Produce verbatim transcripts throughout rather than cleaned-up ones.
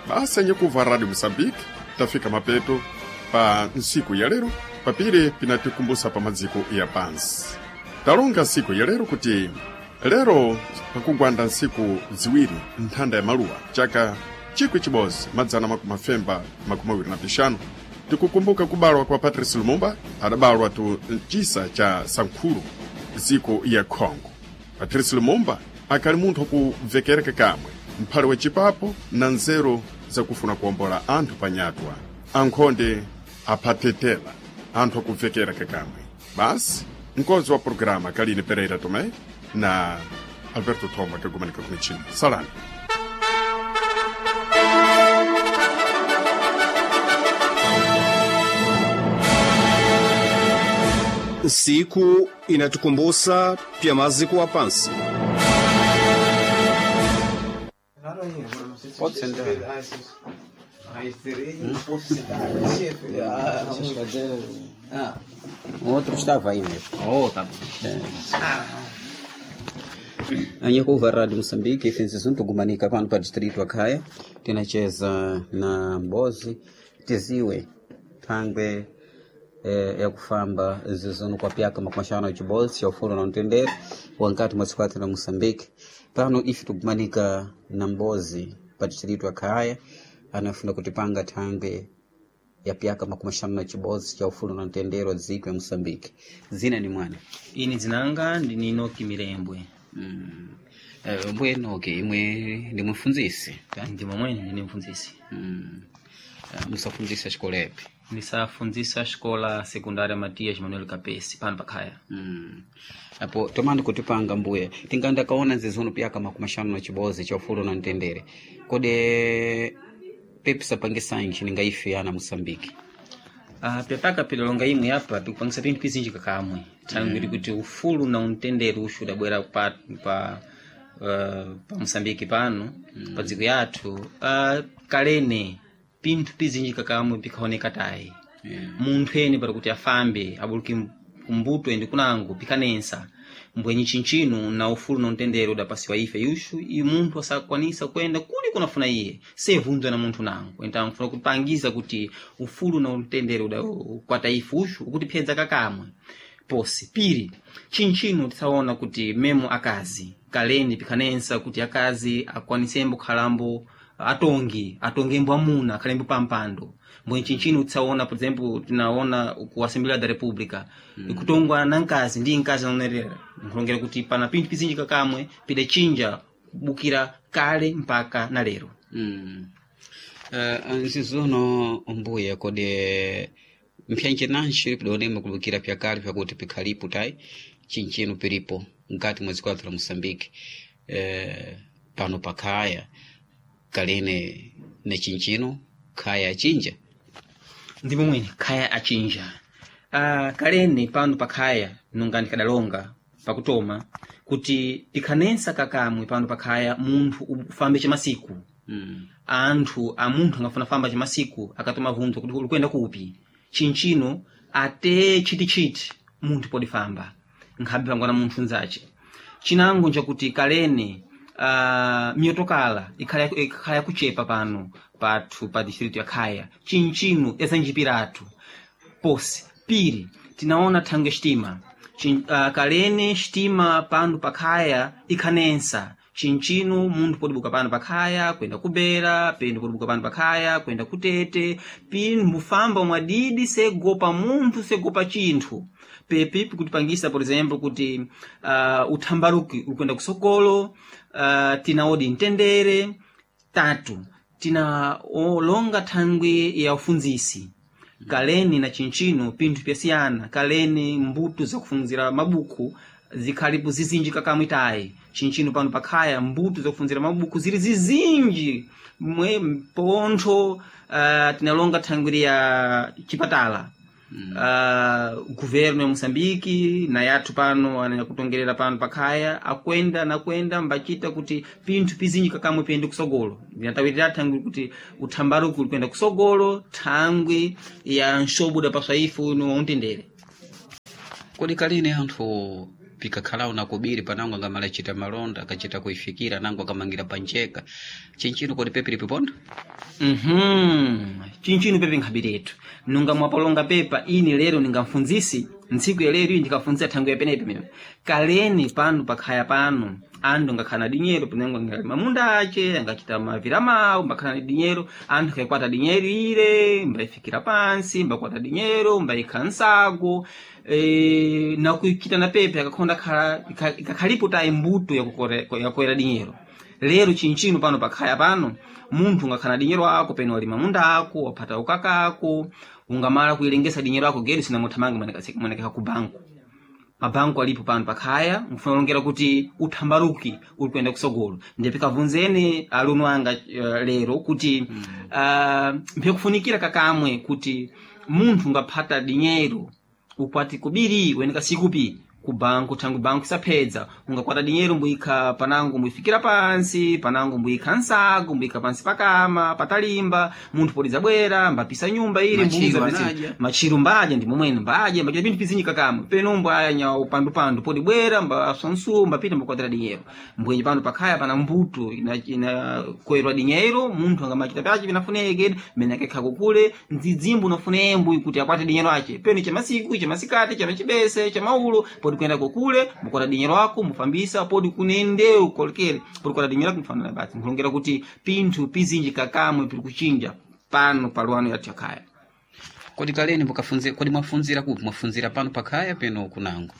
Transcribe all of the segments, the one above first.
Basi anyekuva Radio Moçambique tafika mapeto pa nsiku ya lero papire pinatikumbusa pa madziko ya pansi. Talonga nsiku ya lero kuti lero pakugwanda nsiku ziwiri nthanda ya maluwa chaka chikwi chibodzi madzana makumi mafemba makumi awiri na pixanu tikukumbuka kubalwa kwa Patrice Lumumba adabalwa tu mcisa cha Sankuru dziko ya Congo. Patrice Lumumba akali munthu wakuvekereka kamwe mphale wa chipapo na nzeru zakufuna kuwombola anthu panyatwa ankhonde aphatetela anthu akuvekera kakamwe. Basi mkonzi wa programa Kaline Pereira Tomé na Alberto Thoma kagumanika kumichini. Salani. Siku inatukumbusa pya maziko wa pansi. Pode sentar. O outro estava aí mesmo. Oh, tá bom. Anyekuva Radio Moçambique ifensiso ntugumanika pano pa distrito akhaya tinacheza na mbozi tiziwe thangwe eh, yakufamba zizono kwa pyaka makumashano ya chibozi cha ufulu na mtendere wankati mwa tsikwati la Moçambique. Pano ife tugumanika na mbozi pa distrito akhaya anafuna kutipanga thangwe ya pyaka makumashano na chibozi cha ufulu na mtendere wa dziko ya Moçambique. Zina ni mwana Ini dzinanga ndini Enoki Mirembwe. Mm. Eh, mbuye Enoki imwe ndi mfunzisi ta? Ndimo mwene ndine mfunzisi. Mm. Eh, musafunzisa xikolepi Ndisafunzisa xikola sekundária Matias Manuel Capesi pano pakhaya. Mm. Apo tomani kutipanga mbuye tinganda kaona nzizono pyaka makumi axanu na chibozi cha ufulu na mtendere kode pepisa pangisanji ningaife ana Moçambique. Ah, pyapaka pilolonga imwe apa pikupangisa pinthu pizinji kakamwe thangwi mm. kuti ufulu na umtendere uxu udabwera pa, pa, uh, pa Moçambique pano mm. pa dziko yathu uh, kalene pinthu pizinji kakamwe pikhaoneka tayi Yeah. munthu ene para kuti afambe abuluke kumbuto ende kunango pikanensa mbwenyi chinchino na ufulu na mtendere udapasiwa ife yuxu i munthu asakwanisa kuyenda kuli kunafuna iye sevunzwa na munthu nango então nfuna kupangiza kuti ufulu na mtendere udakwata ife uxu ukutiphyedza kakamwe posi piri chinchino tisaona kuti memo akazi kaleni pikhanensa kuti akazi akwanisembo khalambo atongi atongembo amuna akhalembo pampando mbwe chinchino tisaona por exemplo tinaona ku Assembleia da República mm. kutongwa na nkazi ndi nkazi anaonerera nkulongera kuti pana pinthu pizinji kakamwe pidachinja kubukira kale mpaka na lero Mm. Uh, nzizono mbuye kode mphyanje nanji pidonema kulukira pyakale pyakuti pikhalipo tayi chinchino pilipo mkati mwa dziko lathu la Moçambique eh, pano pakhaya kalene ne chinchino khaya achinja ndipo mwene khaya achinja uh, kalene pano pakhaya nunga ndikadalonga pakutoma kuti pikhanensa kakamwe pano pakhaya munthu ufambe chamasiku mm. anthu a munthu angafuna famba chamasiku akatoma vunzo kuti ulikuyenda kupi chinchino ate chitichiti munthu podifamba nkhabe pangwana munthu nzace chinango nchakuti kalene uh, miyotokala ikhala ikhala yakuchepa pano pathu pa distrito ya khaya chinchino yasanjipiratu posi piri tinaona thangwe xitima Chin, uh, kalene xitima pano pakhaya ikhanensa chinchino munthu podibuka pano pakhaya kuyenda kubera pendo podibuka pano pakhaya kuyenda kutete pino mbufamba mwadidi segopa munthu segopa chinthu pepi pikutipangisa por exemplo kuti uh, uthambaluki ulikwenda kusokolo uh, tinaodi mtendere tatu tina olonga thangwi ya ufunzisi kaleni na chinchino pinthu pyasiyana kaleni mbuto zakufunzira mabuku zikhalipo zizinji kakamwe tayi chinchino pano pakhaya mbuto zakufunzira mabuku zili zizinji mwe pontho uh, tinalonga thangwiri ya chipatala mm. uh, governo ya Moçambique na yathu pano anakutongerera pano pakhaya akwenda nakwenda mbachita kuti pinthu pizinji kakamwe piyende kusogolo ndinatawirira thangwi kuti uthambaluki uli kuyenda kusogolo thangwi ya nxobuda paswaifu ino wautendere Kodi kalene anthu pikakhalao na kubiri panango angamala chita malonda akachita kuifikira nango akamangira pancheka chinchino kodi pepe lipiponda Mhm. Chinchino pepe nkhabiretu nunga mwapolonga pepa ini lero ningamfunzisi ntsiku ya lero iyi ndikafunzisa thango yapenepe mene kaleni pano pakhaya pano anthu ngakhala na dinyero penango angalima munda ace angachita mavira mawo mbakhala na dinyero anthu akaikwata dinyero ile mbayifikira pansi mbakwata dinyero mbayikha nsago e, nakuichita na pepe akakhonda khala ika- ikakhalipo tayi mbuto yakukore- yakoera dinyero lero chinchino pano pakhaya pano munthu ungakhala na dinyero ako peno walima munda ako waphata ukaka ako ungamala kuilengesa dinyero ako geri sinamuthamange monekeka ku banku mabanku alipo pano pakhaya mfuna ulongera kuti uthambaruki uli kuyenda kusogolo ndipikavunzeni alunu anga uh, lero kuti mm. uh, mphikufunikira kakamwe kuti munthu ungaphata dinyero ukwati kubiri weneka sikupi ku banku thangu banku isaphedza ungakwata dinyero mbuyikha panango mbuyifikira pansi panango mbuyikha nsago mbuyikha pansi pakama patalimba munthu podidzabwera mbapisa nyumba ili Machiro mbuza pisi- anaja. machiro mbaja ndi momwene mbaja mbachita pinthu pizinji kakamwe peno mbwanya upandupandu podibwera mbaswansuwo mbapita mbakwatira dinyero mbwenye pano pakhaya pana mbuto inakoyerwa dinyero munthu angamachita pyace pinafuneke mene akekha kukule ndzidzimbu unafune embwi kuti akwate dinyero ace peno chamasiku chamasikati chamachibese chamaulo podi kuyenda kukule mukwata dinyero ako mufambisa podi kunendewu kolekere podi kwata dinyero ako mufanana basi nkulongera kuti pinthu pizinji kakamwe pili kuchinja pano paluano yathu yakhaya kodi kaleni mukafunzira kodi mwafunzira kupi mwafunzira pano pakhaya peno kunango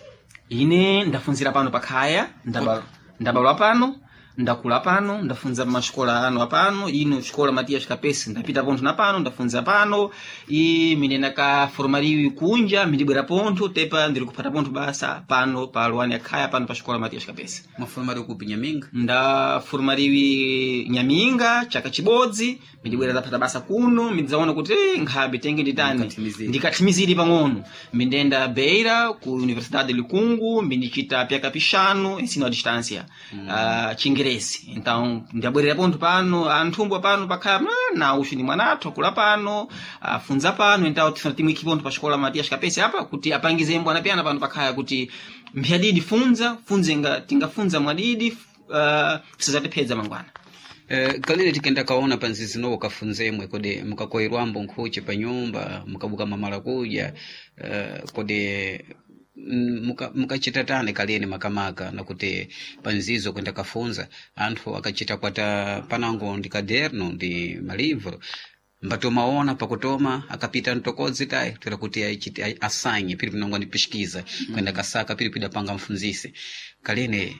ine ndafunzira pano pakhaya ndaba- ndabalwa pano ndakula pano ndafunza masikola ano apano ino xikola Matias Kapesi ndapita pontho na pano ndafunza pano i minena ka formaliwi kunja mindibwera pontho tepa ndiri kuphata pontho basa pano pa luwani yakhaya pano pa xikola Matias Kapesi mwafumali kupi nyaminga ndaformaliwi nyaminga chaka chibodzi mindibwera ndaphata basa kuno mindidzaona kuti eh, nkhabe tenge nditani Ndikatsimizire. ndikatsimizire pang'ono mindenda beira ku universidade likungu mindichita pyaka pixanu ensino a distância mm. uh, chingerezi então ndabwerera pontho pano anthumbwa pano pakhala "Ah, na uxu ni mwanathu akula pano afunza pano então tifuna timwikhi pontho pa xikola Matias Kapesi apa kuti apangize mbwana pyana pano pakhaya kuti mphyadidi funza funze nga tingafunza mwadidi uh, sizatiphedza mangwana Eh, kalile tikenda kaona panzizi nowo kafunzemwe kodi mukakoyerwambo nkhuche pa nyumba mukabuka mamala kudya eh, kodi mm, muka- mukachita tani kaleni makamaka nakuti panzizo kwenda kafunza anthu akachita kwata panango ndi kaderno ndi malivro mbatomaona pakutoma akapita mtokodzi tayi toera kuti aichite- ai- asanye pili pinongo ndipishikiza kwenda kasaka pili pidapanga mfunzise kalene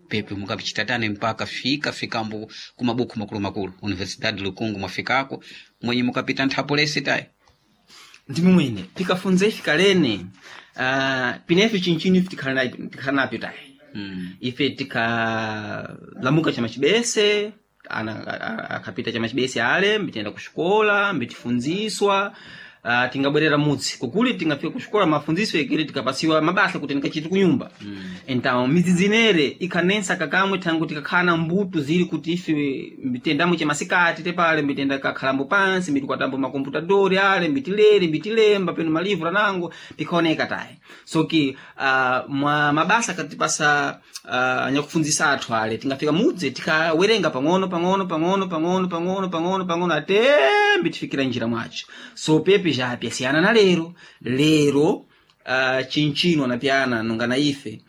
pepe mukapichita tani mpaka fika fikambo kumabuku makulu makulu universidade lukungu mwafikako mwenye mukapita nthapo lesi tayi ndimumwene pikafunza ife kalene uh, pinefe chinchini ife tikhala na- tikhala napyo tayi mm. ife tikalamuka chamachibese ana a- a- akapita chamachibese ale mbitiyenda kuxikola mbitifunziswa uh, tingabwerera mudzi kukuli tingafika kuxikola mafunziso ekere tikapasiwa mabasa kuti ndikachiti kunyumba mm. então midzidzinere ikhanensa kakamwe thangu tikakhala na mbuto zili kuti ife mbitendamo chamasikati tepale mbitenda kakhalambo pansi mbitikwatambo makomputadori ale mbitilere mbitilemba peno malivro anango pikaoneka tayi so ki uh, mwa mabasa akatipasa uh, anyakufunzisa athu ale tingafika mudzi tikawerenga pang'ono pang'ono pang'ono pang'ono pang'ono pang'ono pang'ono atembi tifikira njira mwacho so pepe japyasiyana na lero lero uh, chinchino anapyana nonga na ife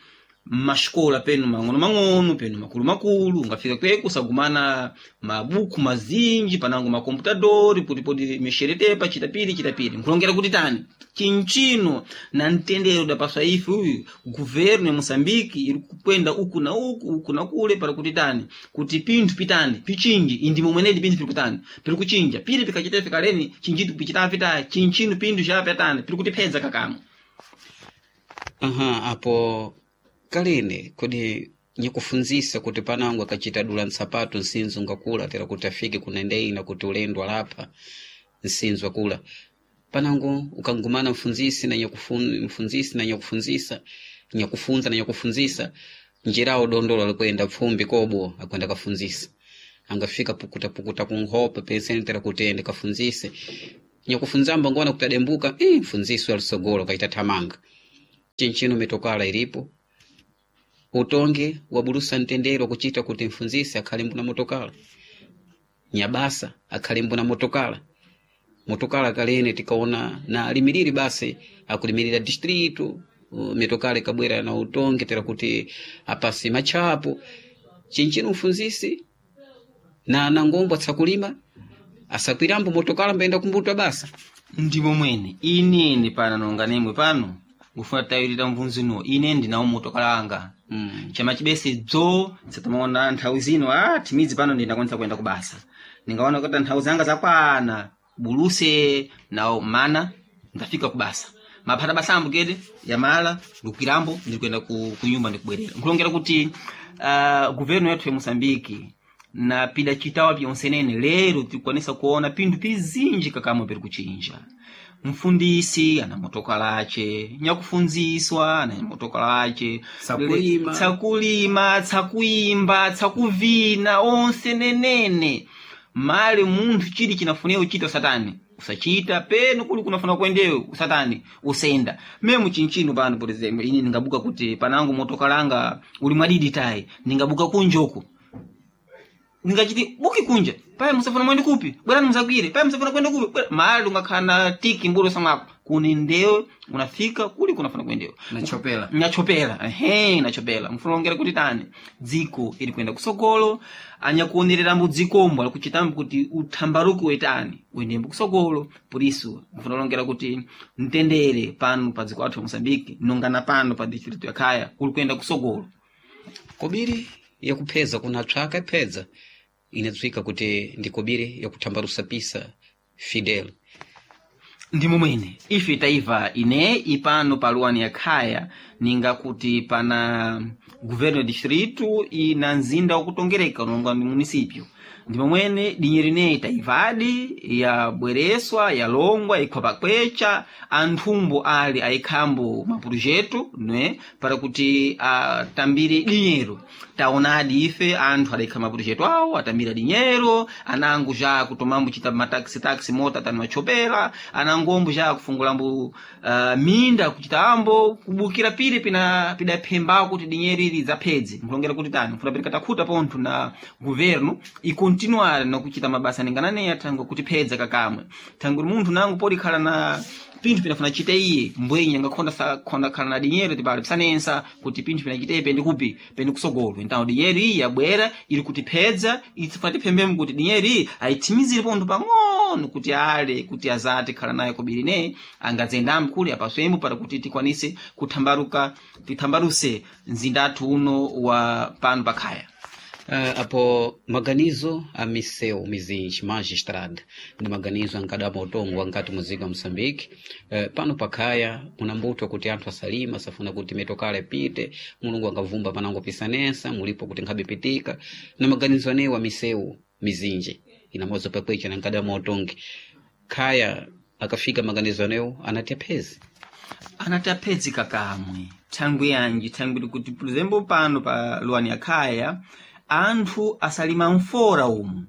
mmasikola penu mang'ono mang'ono penu makulu makulu ungafika kweko usagumana mabuku mazinji panango makomputadori putipoti mixeretepa chitapiri chitapiri nkulongera kuti tani chinchino na mtendero dapaswa ife uyu guvernu ya moçambique iri kukwenda uku na uku uku na kule para kuti tani kuti pinthu pitani pichinji indi momwenedi pinthu piri kutani piri kuchinja piri pikachita fikaleni chinjitu pichitapita chinchino pinthu chapyatani piri kutiphedza kakamwe aha apo kalene kodi nyikufunzisa kuti panango akachita dula nsapato nsinzu ngakula tera kuti afike kunendeina kuti ulendo alapha nsinzu akula panango ukangumana mfunzisi na nyakufun, mfunzisi na nyakufunzisa nyakufunza na nyakufunzisa njirawo dondolo alikwenda pfumbi kobo akwenda kafunzisa angafika pukuta pukuta kunkhope penseni tera kuti ende kafunzise nyakufunzamba ngona kuti adembuka eh, mfunzisi alisogolo kaita thamanga chinchino mitokala ilipo Utonge wabulusa mtendere kuchita kuti mfunzisi akhale mbuna motokala, nyabasa akhale mbuna motokala. Motokala kalene tikaona na alimiriri basi akulimirira distrito, uh, mitokala ikabwera na utonge tera kuti apasi machapo chinchino mfunzisi na nangombo atsakulima asakwirambo motokala mbayenda kumbuta basa. Ndimo mwene inene pana nonga nemwe pano ngufuna tayirira mvunzino ine ndinawo motokala anga Mm. chama chibese dzo satamaona nthawi zino ah timidzi pano ndinakwanisa kuyenda kubasa ningaona kuti nthawi zanga zakwana buluse nawo mana ndafika kubasa maphata basa ambo kete yamala ndikukirambo ndikuyenda ku, ku nyumba ndikubwerera nkulongera kuti uh, governo yathu ya Moçambique na pida chitawa pyonsenene lero tikwanisa kuona pinthu pizinji kakamwe piri kuchinja. Mfundisi ana motokala ace, nyakufunziswa ana motokala ace, Tsakulima. tsakulima, tsakuimba, tsakuvina, onse nenene. Mali munthu chili chinafunika uchita usatani usachita peno kuli kunafuna kuendewe usatani usenda memu chinchino pano por exemplo ine ningabuka kuti panango motokalanga uli mwadidi tayi ningabuka kunjoku ningachiti buki kunja paye musafuna mwende kupi bwerani musagwire paye musafuna kwenda kupi bwera mali ungakhala tiki mbulo samwako kuni ndewe unafika kuli kunafuna kuendewe Nachopela. nachopela ehe nachopela mfunongera kuti tani dziko ili kuyenda kusogolo anyakuonererambo dzikombo alikuchitambo kuti uthambaruko wetani uyendembo kusogolo por isso mfunalongera kuti mtendere pano pa dziko athu la Moçambique nongana pano pa distrito ya Khaya uli kuyenda kusogolo. Kobiri yakupheza kuna tswaka iphedza inadziwika kuti ndi kobiri yakuthambalusa pisa Fidel. Ndimo mwene ife taiva ine ipano pa luwani ya Khaya ninga kuti pana governo ya distrito ina mzinda wakutongereka unonga ndi município. Ndimo mwene dinyeri ineyi taivadi yabwereswa yalongwa ikhwa pakwecha anthumbo ali ayikhambo mapurujeto ne para kuti atambire dinyero. Taonadi ife anthu adayikha mapurujeto awo atambira dinyero anango ja kutomambo chita mataxi taxi mota tani machopera anangombo ja kufungulambo uh, minda kuchitambo kubukira pili pina pidaphembako kuti dinyero ili zaphedze nkulongera kuti tani mfuna pereka takhuta pontho na governo ikontinuare nakuchita mabasa ningananeya thango kuti phedza kakamwe thango munthu nango podikhala na pinthu pinafuna chite iye mbwenye angakhonda sakhonda khala na dinyero tipali pisanensa kuti pinthu pinachite pendi kupi pendi kusogolo então dinyero iyi yabwera ili kutiphedza itsifuna tiphembemo kuti dinyero iyi ayithimizire pontho pang'ono kuti ale kuti azati khala naye kobiri ne angadzendambo kuli apaswembo para kuti tikwanise kuthambaruka tithambaruse mzinda athu uno wa pano pakhaya. Uh, apo maganizo a miseu mizinji magistrada ndi maganizo ankadama utongo ankati muzika Moçambique. Uh, pano pakhaya munambutwa kuti anthu asalima asafuna kuti mitokala ipite mulungu angavumba panango pisanesa mulipo kuti nkhabe pitika na maganizo anewo a miseu mizinji inamozo pakwecha na nkadama utongi khaya akafika maganizo anewo anati aphezi anati aphedzi kakamwe thangwi yanji thangwi kuti por exemplo pano pa luwani ya Khaya anthu asalima mfora umu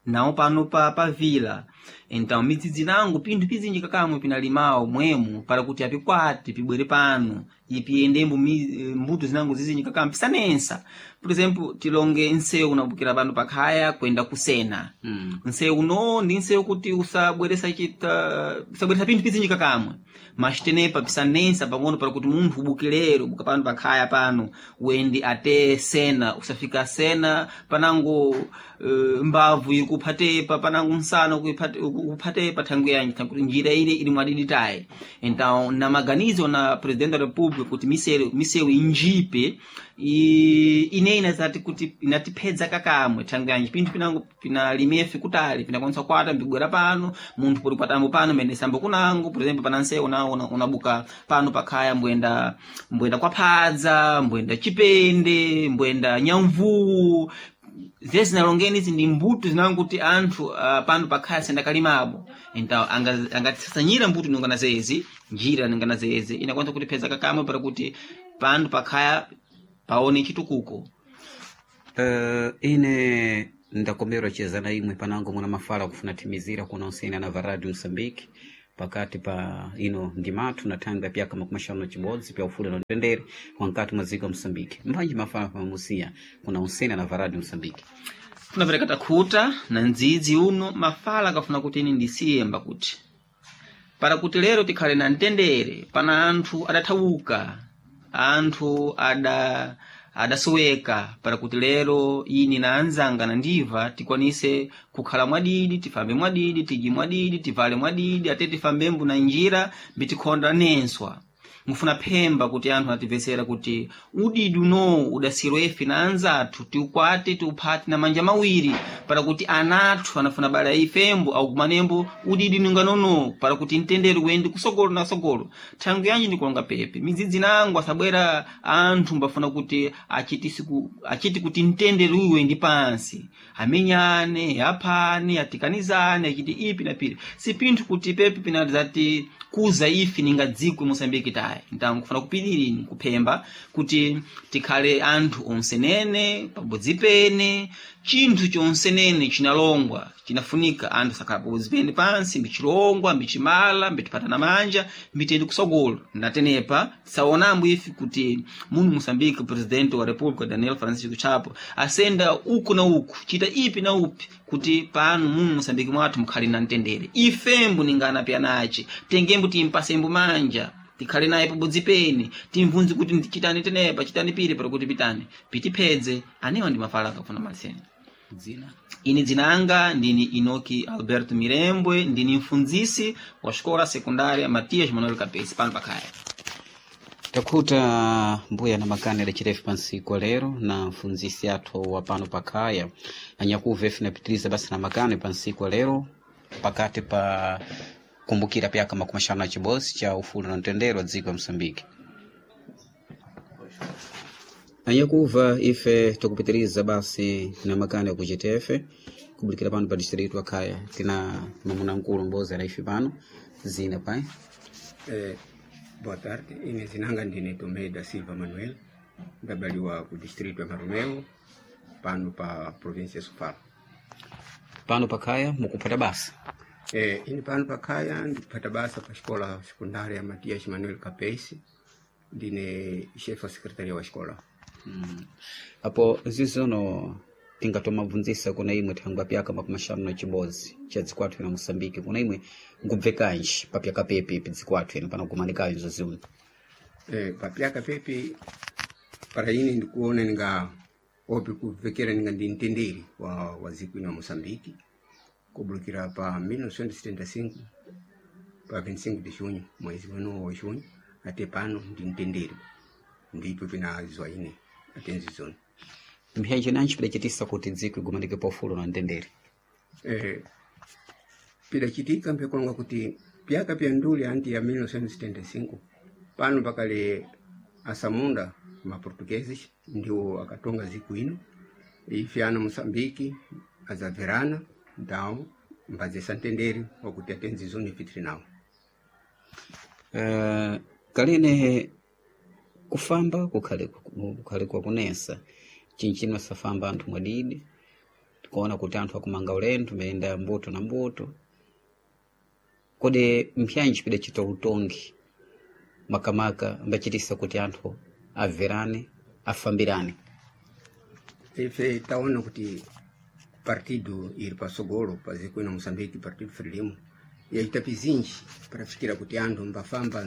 nawo pano pa, pa vila então midzidzi nango pinthu pizinji kakamwe pinalimawo mwemu para kuti apikwate pibwere pano ipiyendembo mi- mbuto zinango zizinji kakamwe pisanensa por exemplo tilonge nsewu unabukira pano pakhaya kwenda kusena mm. nsewu uno ndi nsewu kuti usabweresa chita usabweresa pinthu pizinji kakamwe mas tenepa pisanensa pang'ono para kuti munthu ubukilero ubuka pano pakhaya pano uende ate sena usafika sena panango uh, mbavu iri kuphatepa panango msana ukuiphate- ukuphatepa thangwi yanji thangwi kuti njira ile ili mwadiditayi então na maganizo na presidente da república kuti misewu misewu injipe i- ine inazati kuti inatiphedza kakamwe thangwi yanji pinthu pinango pinalimefe kutali pinakwanisa kwata mbibwera pano munthu poli kwatambo pano mbendesambo kunango por exemplo pana nsewu nawo una- unabuka pano pakhaya mbwenda mbwenda kwaphadza mbwenda chipende mbwenda nyamvuwu zeze zinalongeni izi ndi mbuto zinango kuti anthu uh, pano pakhaya sendakalimabo então angatisasanyira mbuto nongana zezi njira nongana zezi inakwanisa kutipeza kakamwe para kuti pano pakhaya paone chitukuko. Uh, ine ndakomerwa cheza na imwe panango muna mafala kufuna timizira kuna usina na va Radio Moçambique. pakati pa ino ndimathu na thangwi ya pyaka makumi axanu na cibodzi pya ufulu na mtendere wankati mwa dziko la Moçambique. Mphanji mafala pamusiya kuna unsena na varadi Moçambique. Funapereka takhuta na ndzidzi uno mafala akafuna kuti ine ndisiyemba kuti para kuti lero tikhale na mtendere pana anthu adathawuka, anthu ada adasoweka para kuti lero ini na anzanga na ndiva tikwanise kukhala mwadidi, tifambe mwadidi, tidye mwadidi, tivale mwadidi, ate tifambembo na njira mbitikhonda nenswa. Ngufuna phemba kuti anthu atimvetsera kuti udidi unowu udasirwa ife na anzathu tiukwate tiuphate na manja mawiri para kuti anathu anafuna bala ifembo aukumanembo udidi ninganono para kuti mtendere uyende kusogolo na sogolo. Thangwi yanji ndikulonga pepe midzidzi nangu asabwera anthu mbafuna kuti achiti siku achiti kuti mtendere uyu uyendi pansi, amenyane, aphane, atikanizane, achiti ipi na pili si pinthu kuti pepe pinazati kuza ife ninga dziko Moçambique tayi. Então kufuna kupiriri kuphemba kuti tikhale anthu onsenene pabodzi pene, chinthu chonsenene chinalongwa chinafunika anthu sakhala pabodzi pene pansi mbichilongwa mbichimala mbitipatana manja mbitiyende kusogolo. Ndatenepa tisaonambo ife kuti muno Moçambique presidente wa República Daniel Francisco Chapo asenda uku na uku chita ipi na upi kuti pano muno Moçambique mwathu mukhale na mtendere. Ifembo ningana pyanace tengembo timpasembo manja tikhale naye pabodzi pene timvunze kuti chitani tenepa chitani pili para kuti pitani pitiphedze anewa ndi mafala akafuna maliseni. Dzina Ini dzinanga ndini Inoki Alberto Mirembwe, ndini mfundzisi wa xikola sekundária Matias Manuel Capesi pano pakhaya. Takhuta mbuya na makani adacita ife pansiku lero na mfundzisi athu wa pano pakhaya anyakuva ife napitiriza basi na makani pansiku lero pakati pa kumbukira pyaka makumi axanu na cibodzi cha ufulu na mtendere wa dziko la Moçambique. Anyakuva ife tukupitiriza basi na makani akuchita ife kubulikira pano pa distrito akhaya tina mamuna mkulu mbozi ala ife pano zina pai. Eh, boa tarde, ine zinanga ndine Tomé da Silva Manuel, ndabaliwa ku distrito ya Maromeo pano pa província ya Sofala. Pano pakhaya mukuphata basa. Eh, ine pano pakhaya ndikuphata basa pa xikola sekundária Matias Manuel Capesi, ndine chefe wa secretaria wa xikola. Mm. Apo zizono tingatomabvunzisa kuna imwe thangwi pyaka makumi axanu na cibodzi cha dziko athu ino Moçambique kuna imwe nkubvekanji papyaka pepi pi dziko athu ino panakumanikayo zoziuno. Eh, papyaka pepi para ine ndikuona ninga opi kuvekera ninga ndi mtendere wa, wa dziko ino ya Moçambique kubulukira pa mil novecentos e setenta e cinco pa vinte e cinco de junho mwezi weno wa junho ate pano ndi mtendere ndipo pinazwa ine ate nzizono. Mphenji nanji pidacitisa kuti dziko igumanike pa ufulu na mtendere. Eh, pidacitika mpekulonga kuti pyaka pya nduli anti ya mil novecentos e setenta e cinco pano pakale asamunda ma portugueses ndiwo akatonga ziku ino ife ana Moçambique azaverana então mbazesa mtendere wakuti atenzizoni ife tili nawo. Uh, kalene kufamba kukhale kukhale kwakunesa chinchino safamba anthu mwadidi tikuona kuti anthu akumanga ulendo mayenda mbuto na mbuto kodi mpyanji pidacita utongi makamaka ambacitisa kuti anthu averane afambirane. Ife taona kuti partido iri pasogolo pa ziko ino Moçambique, Partido Frelimo yaita pizinji para fikira kuti anthu mbafamba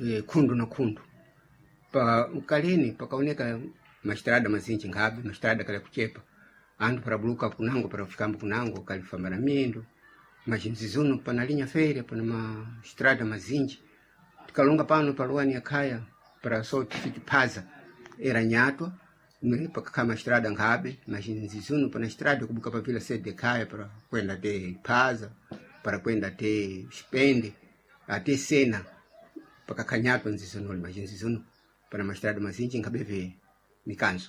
eh, khundu na khundu pa kaleni pakaoneka mastrada mazinji nkhabe mastrada kali kuchepa anthu parabuluka kunango parafikambo kunango kalifamba na miyendo machinzizuno panalinya fere pana mastrada mazinji tikalonga pano paluwani yakhaya para so tifiki phaza era nyatwa ne pakakhala mastrada nkhabe machinzizuno pana strada kubuka pa vila sede khaya para kwenda te phaza para kwenda te xipende ate sena pakakhanyatwa nzizunoli machinzizuno pana mastrada mazinji nkhabeve mikanzo.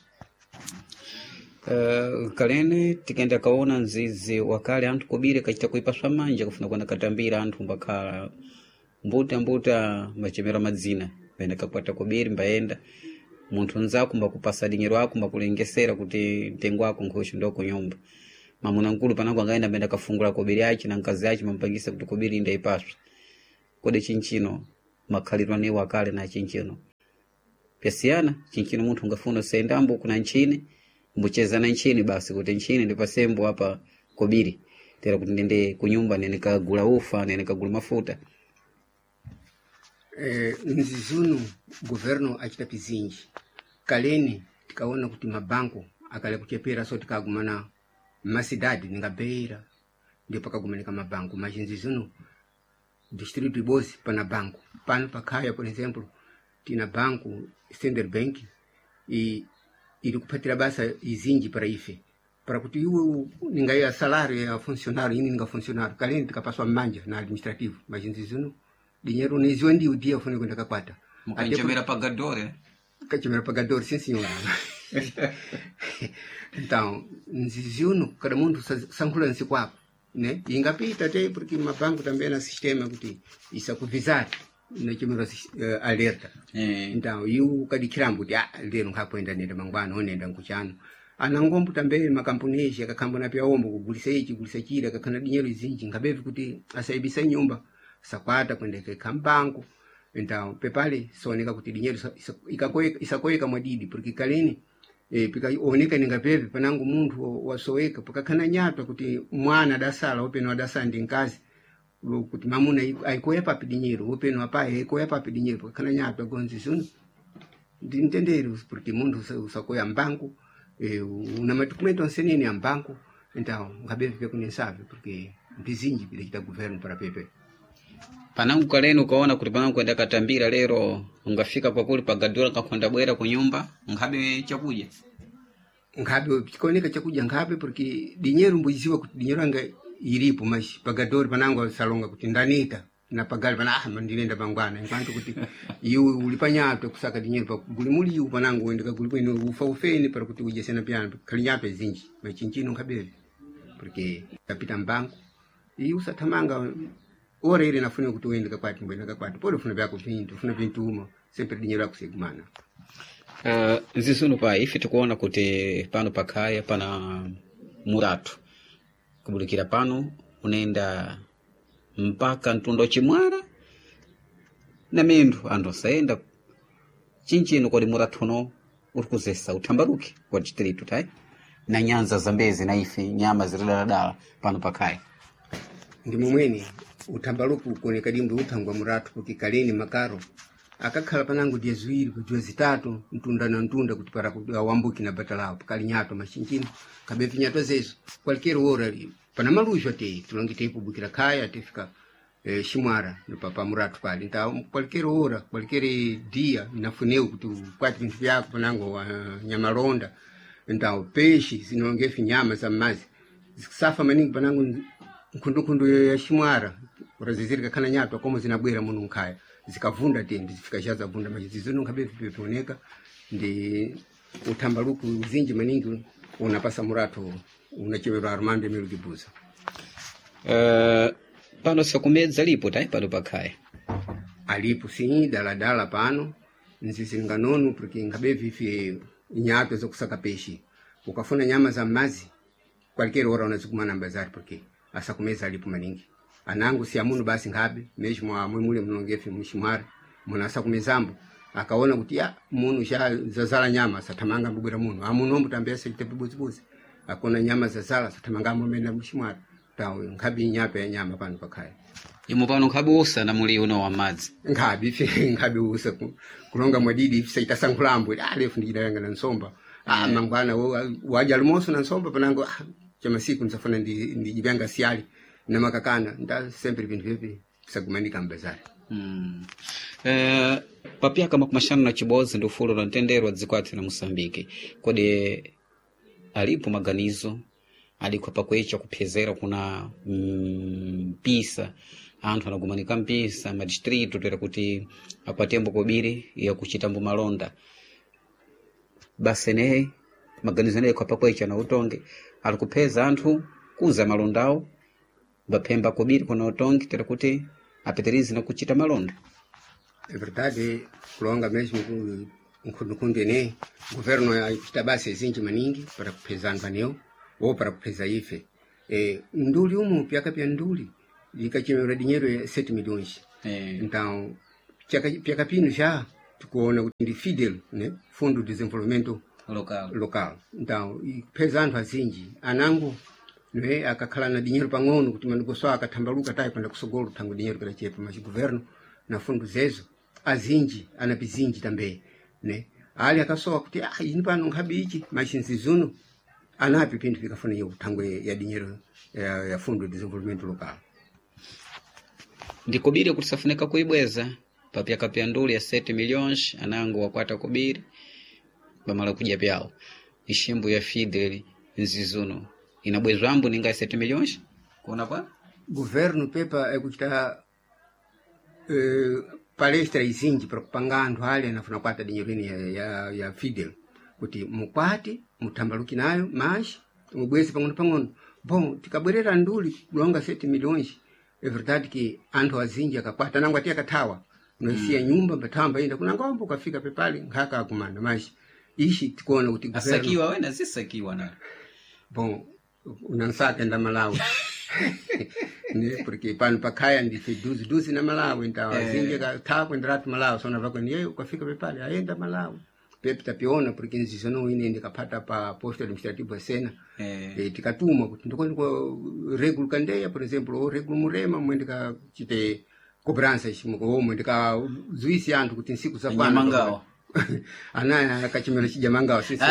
Uh, kalene tikenda kaona nzizi wakale anthu kubire kachita kuipaswa manja kufuna kuenda katambira anthu mbakhala mbuta mbuta machemera madzina pene kakwata kubiri mbayenda munthu nzako mbakupasa dinyero ako mbakulengesera kuti mtengo wako nkhocho ndo kunyumba. Mamuna nkulu panango angaenda mbenda kafungula kobiri achi na nkazi achi mampangisa kuti kobiri inda ipaswe. Kodi chinchino makhalidwe anewo akale na chinchino pyasiyana. Chinchino munthu ungafuna usayendambo kuna nchini mbucheza na nchini basi kuti nchini ndipasembo apa kobiri tera kuti ndende kunyumba nene kagula ufa nene kagula mafuta. Eh, nzizunu governo achita pizinji kaleni tikaona kuti mabanko akale kuchepera so tikagumana mmasidadi ningabeira ndio pakagumanika mabanko mas nzizunu distrito ibozi pana banko pano pakhaya, por exemplo, tina banco Standard Bank e iri kupatira basa izinji para ife para kuti iwe ningaiya salário ya funcionário ini ninga funcionário kaleni tikapaswa mmanja na administrativo, mas nzizunu dinheiro neziwa ndiwo dia fune kwenda kakwata. Mukanchemera pagadore. Kachemera pagador, sim senhora. Então nziziuno cada munthu sa- sankhula nsi kwako né, ingapita te porque mabanco também na sistema kuti isakuvizar nachemera uh, alerta. Eh. Então iu ukadikhirambo kuti ah lero nkhakwenda nenda mangwana onenda nkuchano anangombo também makampunezi akakhamba pya ombo kugulisa ichi kugulisa chile akakhana dinheiro izinji nkhabevi kuti asaibisa nyumba sakwata kwenda ikekha mbanko. Então pepale sooneka kuti dinheiro isa- isa- ikakoeka- isakoeka mwadidi porque kaleni eh, pikaoneka ningapepe panangu munthu wasoweka pakakhana nyatwa kuti mwana adasala openo adasala ndi nkazi kuti mamuna aikoya papi dinheiro openo apai aikoya papi dinheiro pakakhana nyatwa gonzi zuno ndimtendere porque munthu usa- usakoya mbanku eh, una madokumento onsenene a mbanku. Então ngabevi pekunesave porque mbizinji pidachita governo para pepe. Panangu kaleni ukaona kuti panangu kwenda katambira lero ungafika kwakuli pagadora kakhonda bwera kunyumba nkhabe chakudya. Nkhabe chikaoneka chakudya nkhabe porque dinheiro mbuiziwa kuti dinheiro anga iripo mas pagadori panangu asalonga kuti ndanita na pagali pana ah ndinenda pangwana enquanto kuti iwe uli panyatwe kusaka dinheiro pa guli muliu panangu uende kaguli kwene ufa ufeni para kuti udye sena pyana khali nyatwe zinji machinchino nkhabeve porque kapita mbanku iwe usathamanga ora ile nafuna kuti uende kakwati mbwena kakwati pode ufuna vyako vintu ufuna vintuma sempre dinheiro akusegumana. Uh, nzizunu pa ife tikuona kuti pano pakhaya pana muratu kubudikira pano unaenda mpaka mtundu chimwala na minthu anthu asayenda chinchino kodi muratu uno uri kuzesa uthambaruke kwa distrito tayi na nyanza zambezi na ife nyama ziridaladala pano pakhaya. Ndi momwene uthambaluku kuoneka dimbo uthangwa muratu kuti kaleni makaro akakhala panango diya ziwiri kudziwa zitatu mtunda na mtunda kuti para kuti awambuki na bata lawo pakali nyato machinchino kabevi nyato zezo qualquer hora pana maluzho te tulonge teipubukira khaya tifika eh, ximwara pa, pa muratu pali então qualquer hora qualquer dia inafuneu kuti ukwati vinthu vyako panango uh, nyamalonda então peixe zinongefi nyama za mmazi zikusafa maningi panango nkhundunkhundu ya ximwara ora kakhana nyatwa como zinabwera muno nkhaya zikavunda te ndizifika xa zavunda mas zizono nkhabe vipepioneka ndi uthambaluku uzinji maningi unapasa muratu unachemerwa Armando Emílio Guebuza. Uh, pano sakumedza lipo tayi pano pakhaya. Alipo sim daladala pano nzizinga nono porque nkhabe vife nyatwa zakusaka peixe ukafuna nyama za mazi qualquer hora unazikumana mbazari porque asakumeza alipo maningi anangu si amuno basi nkhabe mesmo amwe mule mnongefe mshimwari muna asakumezambo akaona kuti ya munu sha zazala nyama sathamanga mbubwera muno amuno mbutambia sachita pibuzibuzi akona nyama zazala sathamanga amene mshimwari tawo nkhabe nyapa ya nyama pano pakhaya. Imo pano nkhabe usa na muli uno wa madzi. Nkhabe ife nkhabe usa ku- kulonga mwadidi ife saita sankhulambo ah lefu ndidayanga na nsomba ah mangwana wo- waja lumoso na nsomba panango ah, chamasiku nsafuna ndi ndijivyanga siali na makakana nda sempre vinthu vyepi sagumanika mbazari. Mm. Eh, papyaka makumi axanu na chibodzi ndi ufulu la mtendere wa dziko athu la Moçambique kodi alipo maganizo alikho pakwecha kuphezera kuna mm, mpisa anthu anagumanika mpisa madistrito toera kuti akwatembo kobiri yakuchitambo malonda basi eneyi maganizo eneyi kwa pakwecha na utonge ali kupheza anthu kuza malondawo baphemba kobiri kuna utonge tera kuti apitirize na kuchita malonda. É verdade, kulonga mesmo ku- nkhundunkhundu ene governo achita basa izinji maningi para kupheza anthu anewo ou para kupheza ife. Eh, nduli umu pyaka pya nduli ikachemera dinheiro ya sete milhões. Eh. Então chaka pyaka pino já tikuona kuti ndi Fidel, né, Fundo de Desenvolvimento Local. Local. Então ipeza anthu azinji anango, né, akakhala na dinheiro pang'ono kuti manikoso akathambaluka tayi kwenda kusogolo thango dinheiro kadachepa, mas governo na fundo zezo azinji anapizinji também, né, ali akasowa kuti ah, ini pano nkhabe ichi, mas nzizuno anapi pinthu pikafuna thangwe ya dinheiro ya, ya Fundo de Desenvolvimento Local. Ndikubiri kuti safunika kuibweza papyaka pya nduli ya sete milhões anango wakwata kubiri pamala kudya pyawo iximbo ya Fidel nzizuno inabwezwambo ninga ya sete milhões kuona kwa Governo pepa ekuchita eh, palestra izinji para kupanga anthu ali anafuna kwata dinheiro ine ya, ya, ya Fidel kuti mukwate muthambaluki nayo mas mubweze pang'ono pang'ono. Bom, tikabwerera nduli kulonga sete milhões, é verdade que anthu azinji akakwata nango ati akathawa noisiya mm. nyumba mbathawa mbayenda kunangombo ukafika pepali nkhaka akumana, mas ishi tikuona kuti governo asakiwa wena zisakiwa na Bom, unansaka nda Malawi, ne, porque pano pakhaya ndife duzi duzi na Malawi, então azinji akathawa kuenderatu Malawi sona vakweni yeyo ukafika pepali ayenda Malawi pepe tapiona porque nzizono ine ndikapata pa posto administrativo sena. Eh. Eh, tikatuma kuti ndikoni kwa regulo kandeya, por exemplo, ou regulo murema mwende kachite cobrança omwe ndikazuisi anthu kuti nsiku zapano Nyamangawa. Anaya akachimera chijamangawa sisi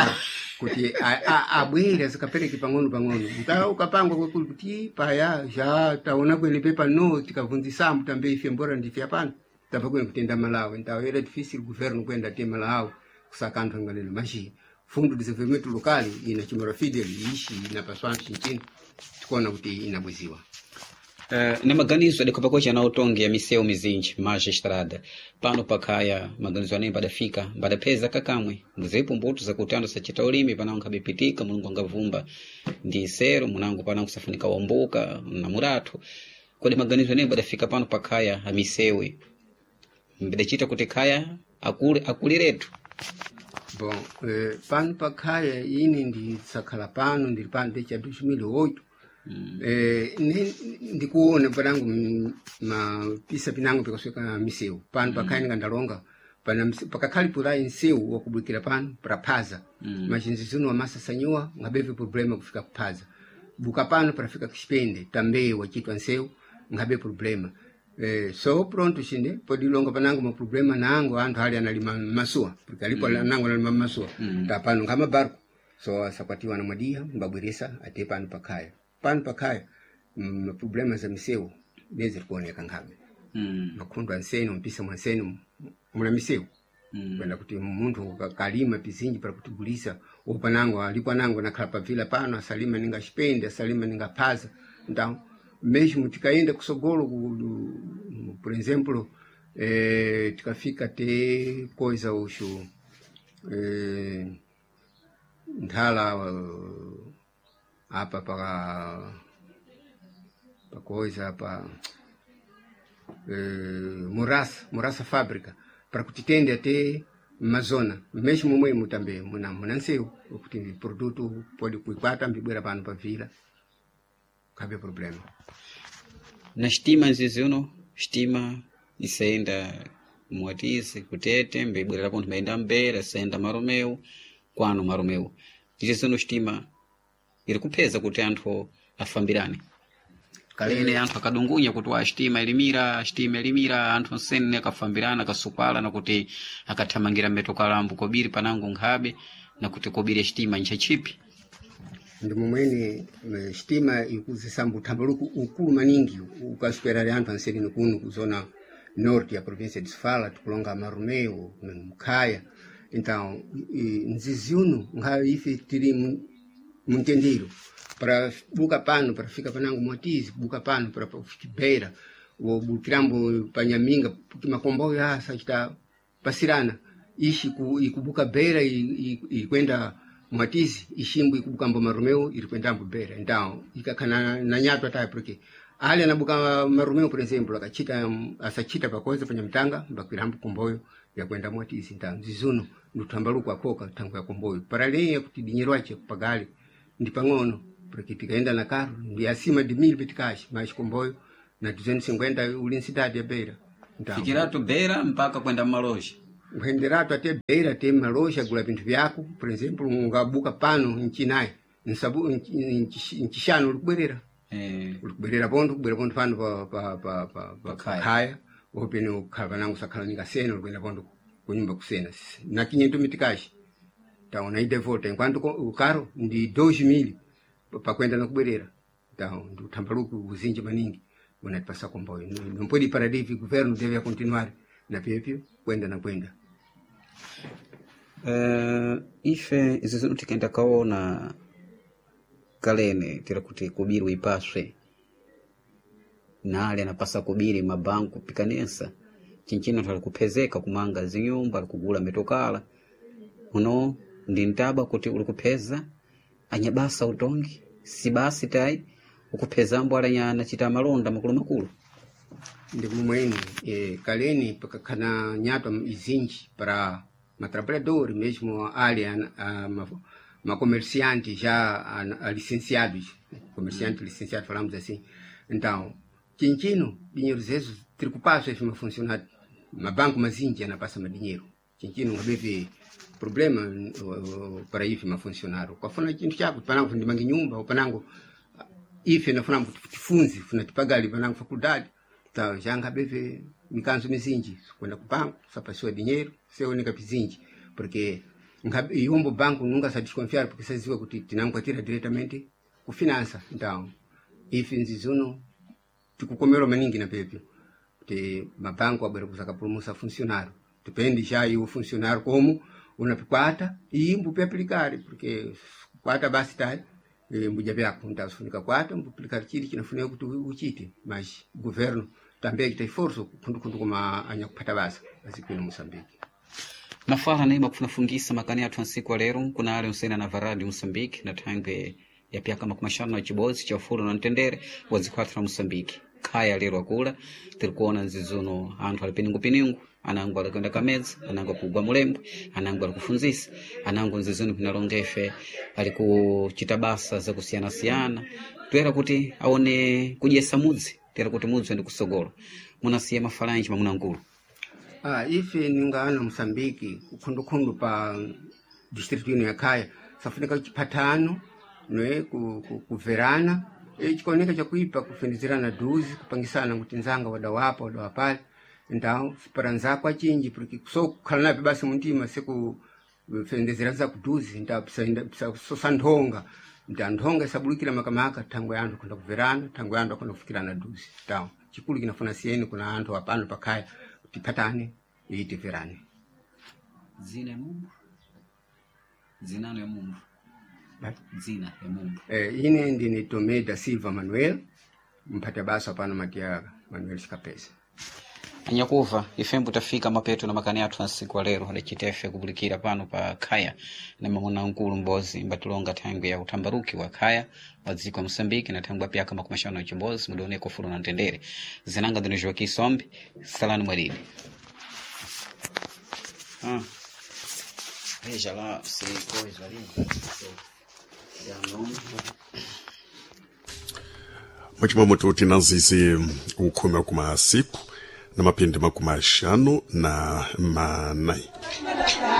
kuti a- a- abwere azikapereke pang'ono pang'ono nta ukapangwa kwekuli kuti paya ja taona kwene pepa no tikavunzisambo tambe ife mbora ndife apano tapha kwene kutenda Malawi. Então era difícil governo kwenda te Malawi kusaka anthu anganene, mas Fundo de Desenvolvimento Local inachimera Fidel ishi inapaswa chinchino tikuona kuti inabweziwa. Uh, na maganizo adikhopakocha ana utongi ya miseu mizinji maja estrada pano pakhaya maganizo aneyi mbadafika mbadapheza kakamwe mbuzepo mbuto zakuti anthu sachita ulimi panango nkhabepitika mulungu angavumba ndi sero munango panango kusafunika wambuka na murathu kodi maganizo aneyi mbadafika pano pakhaya amisewe mbadachita kuti khaya akule akuliretu. Bom, eh, pano pakhaya ine ndisakhala pano ndili pano desde dois mil e oito. Mm. Eh, ne- ndikuona panango mm, mapisa pinango pikasweka miseu pano pakhaya ndikandalonga pana mse- pakakhali pulayi nsewu wakubwikira pano praphaza mm. machinzi zino amasasanyiwa ngabeve problema kufika kuphaza buka pano parafika kuxipende tambe wachitwa nsewu ngabe problema. Eh, so pronto xine podilonga panango maproblema nango anthu ali analima masuwa porque alipo mm. nango analima masuwa mm. ta pano ngama barco so asakwatiwa na mwadia mbabweresa ate pano pakhaya pano pakhaya mm, maproblema za misewu nezirikuoneka nkhabe mm. makhundu ansene mpisa mwansene muna misewu Mm. kwenda kuti munthu kalima pizinji para kutigulisa upanango alipo anango nakhala pavila pano asalima ninga xipende asalima ninga phaza. Então mesmo tikaenda kusogolo ku- por exemplo, eh, tikafika te coisa uxu eh, nthala eh, apa paka pacoisa apa eh, murasa murasa fábrica para kuti tende até mazona mesmo momwemo também muna muna nsewu kuti produto pode kuikwata mbibwera pano pa vila kabe problema. Na xtima nzizi uno xtima isayenda muwatisi kutete mbibwerera pontho mbayenda mbera isayenda maromeu kwano maromeu izi zino xtima iri kupheza kuti anthu afambirane kalene anthu akadungunya kuti wa xtima ilimira xtima ilimira anthu nsene akafambirana akasukwala nakuti akathamangira mmetokalambo kobiri panango nkhabe nakuti kobiri xtima nchachipi. Ndi momwene eh, sitima ikuzisamba uthambaluko ukulu maningi ukasperare anthu anseleni kuno kuzona norte ya província de Sofala tikulonga Marumeu Mkhaya. Então i- nzizi uno nkhayo ife tili mu- muntendero para buka pano para fika panango Mwatizi buka pano para fika Beira wobukirambo panyaminga porque makomboyo asa chita pasirana ishi ku, ikubuka Beira ikwenda Mwatizi ishimbu ikubukambo Marumeu iri kwendambo Beira. Então ikakhana na nyatwa tayo porque ali anabuka Marumeu, por exemplo, akachita asachita pakoza panyamtanga mbakwirambo komboyo yakwenda Mwatizi. Então zizuno nduthambaluko akhoka thango ya komboyo para leya kuti dinyero ache kupagali ndi pang'ono Porque tikaenda na carro ndi acima de mil meticais, mais comboio na duzentos e cinquenta uli cidade ya Beira. Então, fikiratu Beira mpaka kwenda maloja kuenderatu até Beira tem maloja gula vinthu vyako, por exemplo, ungabuka pano nchinai nsabu nchishano ulikubwerera eh, ulikubwerera pontho kubwera pontho pano pa pa pa pa pa Pakhaya. khaya opene ukhala panango sakhala ningasena ulikwenda pontho kunyumba kusena na quinhentos meticais. Então na ida e volta, enquanto o carro ndi dois mil pakwenda na kubwerera. Então ndi uthambaluki uzinji maningi unatipasa comboio. Não pode parar de o governo deve continuar na piepio kwenda na kwenda. Uh, ife izi zinu tikenda kaona kalene tira kuti kubiri uipaswe nale anapasa kubiri mabanku pikanesa chinchino anthu alikuphezeka kumanga zinyumba alikugula mitokala uno ndi ntaba kuti ulikupheza anyabasa utongi si basi tayi ukuphezambo alanya chita malonda makulumakulu Ndi kumweni eh, kaleni pakakhala nyatwa izinji para matrabalhadores mesmo ali a, a, ma, macomerciante já a, a licenciados, comerciante licenciado falamos assim. Então chinchino dinheiro zezo tiri kupaswa ife mafuncionário mabanco mazinji anapasa madinheiro chinchino ngabeve problema uh, uh, para ife mafuncionário kwafuna chinthu chako panango ndimange nyumba panango ife nafuna kuti tifunze funa tipagali panango faculdade ta janga beve mikanzo mizinji kwenda ku banco sapasiwa dinheiro seoneka pizinji porque nga- iwombo banco nunca sa desconfiar porque saziwa kuti tinankwatira diretamente ku finança. Então ife nzizuno tikukomerwa maningi na pepyo kuti mabanco abwera kuzakapulumusa funcionário depende já e o funcionário como unapikwata e mbupe aplicare porque kwata basi tai eh, mbuja vyako ntafunika kwata mbuaplicare chili chinafunika kuti uchite, mas governo também kita esforço kundukundu kuma anyakupata basa azikuino Moçambique. Mafala naima kufunafungisa makani athu ansiku alero kuna ale onsene na varadi Moçambique na thangwe ya pyaka makumi axanu na chibodzi cha ufulu na mtendere wa dziko lathu la Moçambique. Khaya lero akula tiri kuona nzizuno anthu ali piningupiningu anango ali kuyenda kamedzi anango akugwa mulembwe anango ali kufunzisa anango nzizuno pinalonga ife ali kuchita basa zakusiyanasiyana toyera kuti aone kudyesa mudzi toyera kuti mudzi uende kusogolo munasiya mafalanji mamunangulu. Ah, ife ningana Moçambique kukhundukhundu pa distrito ino ya Khaya safunika chipatano ne ku, ku, kuverana e, chikaoneka chakuipa kufendezerana duzi kupangisana kuti nzanga wadawapa wadawapale então para nzako achinji porque so kukhala nape basi muntima seku fendezera nzako duzi então psaenda sosa nthonga nta nthonga isabulukira makamaka thangwe anthu akhonda kuverana thangwe anthu akhonda kufikirana duzi. Então chikulu kinafuna siyeni kuna anthu apano pakhaya tipatane e tiverane. Dzina ya mumbu dzinano ya mumbu dzina ya mumbu Eh, ine ndine Tomé da Silva Manuel mphata basa pano Matiaga Manuel Chikapesa. Anyakuva ifembo tafika mapeto na makani athu ansiku alero adacitefe kupulikira pano pa khaya na mamuna mkulu mbozi mbatilonga thangwi ya uthambaruki wa khaya wa dziko la Moçambique na thangwi apyaka makumi axanu na chimbozi mudioneko ufulu na mtendere zinanga ndino Joaquim Sombe salani mwadidi. Ah. Veja lá se coisa ali. Já nome. Mwachimwamoto tinanzizi ukhumi wa kumasiku na mapindi makumi axanu na manayi.